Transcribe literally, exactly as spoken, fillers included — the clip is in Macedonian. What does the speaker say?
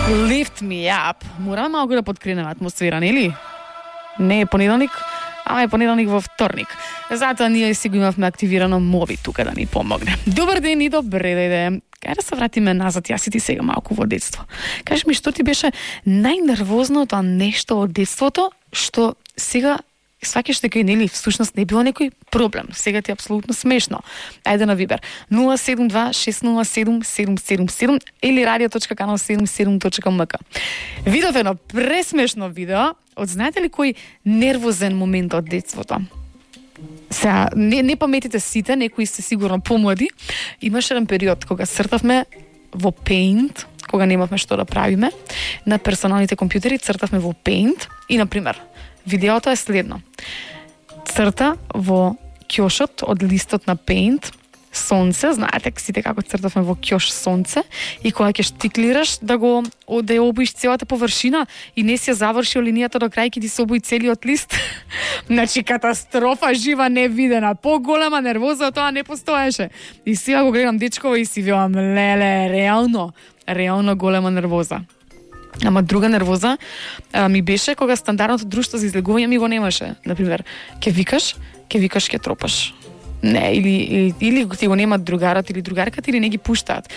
Lift me up. Мораме малку да подкренеме атмосфера, нели? Не е понеделник, ама е понеделник во вторник. Затоа ние си го имавме активирано Моби тука да ни помогне. Добар ден и добре дојде. Кај да се вратиме назад, јас и ти сега малку во детство. Кажи ми, што ти беше најнервозното нешто од детството, што сега сваќаш дека и нели всушност не било некој проблем. Сега ти е апсолутно смешно. Ајде на Вибер нула седум два шест нула седум седум седум седум или радио точка канал седумдесет и седум точка ем ка. Видов едно пресмешно видео од знаете ли кој нервозен момент од детството? Сега, не, не паметите сите, некои сте сигурно помлади. Имаше еден период кога цртавме во Paint, кога немавме што да правиме, на персоналните компјутери цртавме во Paint и, например, видеото е следно. Црта во ќошот од листот на Paint сонце, знаете сите како цртавме во ќош сонце, и кога ќе штиклираш да го да ја обоиш целата површина и не си ја завршил линијата до крај, ќе ти се обои целиот лист. Значи катастрофа жива невидена, поголема нервоза од тоа не постоеше. И сега го гледам дечково и си велам, леле, реално, реално голема нервоза. Ама друга нервоза а, ми беше кога стандардното друштво за излегување ми го немаше. Например, ќе викаш, ќе викаш, ќе тропаш. Не, или, или, или ти го немат другарот или другарката или не ги пуштаат.